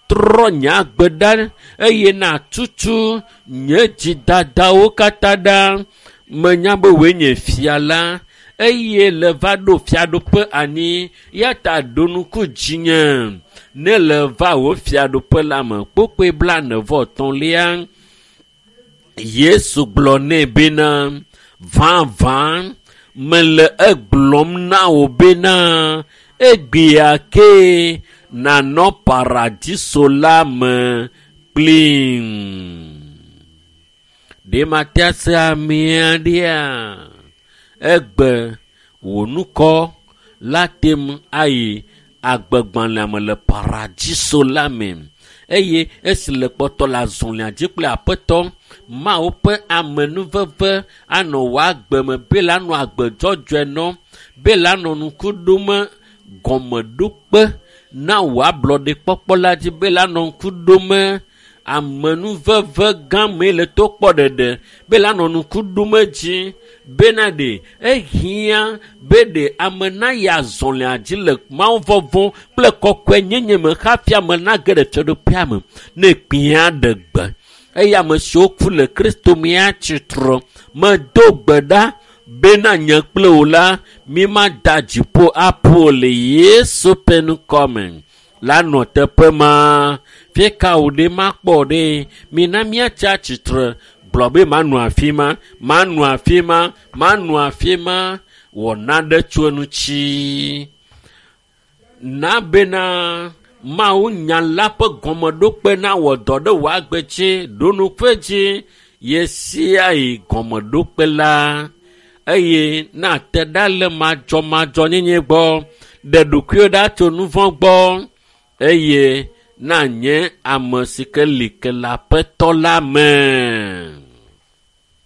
trɔ nye agbe ɖa eye nàtutu nye dzidadawo katã ɖa menya be wòe nye fia la eye le va ɖo fiaɖuƒe anyi ya ta ɖo ŋku dzinye ne le va wò fiaɖuƒe la me. Kpokpoe 43 Yesu gblɔ nɛ bena vavã mele egblɔm na wò bena egbea ke nànɔ paradiso la me kplim. Ɖe mate ase amea ɖea? Egbe wò ŋkɔ la tem ayi agbegbalẽa me le paradiso la me eye esi le kpɔtɔ le azɔlia dzi kple Aƒetɔ Mawu ƒe amenuveve anɔ wò agbe me be la nɔ agbe dzɔdzɔe nɔm be la nɔ ŋku ɖom gɔmeɖokpe na wò ablɔɖekpɔkpɔ la dzi be la nɔ ŋku ɖom amenuveve gã mee le to kpɔ ɖeɖe be la nɔ ŋku ɖom dzi bena ɖe ehiã be ɖe ame nayi azɔlia dzi le Mawu vɔvɔ̃ kple kɔkɔenyenye me hafi ame nage ɖe fiaɖuƒea me ne kpĩa ɖe gbe eye ame siwo ku le Kristo mea tsitre medo gbe ɖa bena nye kple wò la mi mada dziƒo aƒo le Yesu ƒe ŋkɔ me la nɔ teƒe ma fika wò ɖe makpɔ ɖe mina míatsi atsitre gblɔ be manɔ afi ma manɔ afi ma manɔ afi ma wɔ naɖe tso eŋuti na bena Mawu nya la ƒe gɔmeɖokpe nawɔ dɔ ɖe wò agbe dzi ɖo nuƒe dzi ɣe sia ɣi gɔmeɖokpe la eye nate ɖa le madzɔmadzɔnyenye gbɔ ɖe ɖokuiwò ɖa tso nu vɔ̃ gbɔ eye nanye ame si ke li ke le Aƒetɔ la me.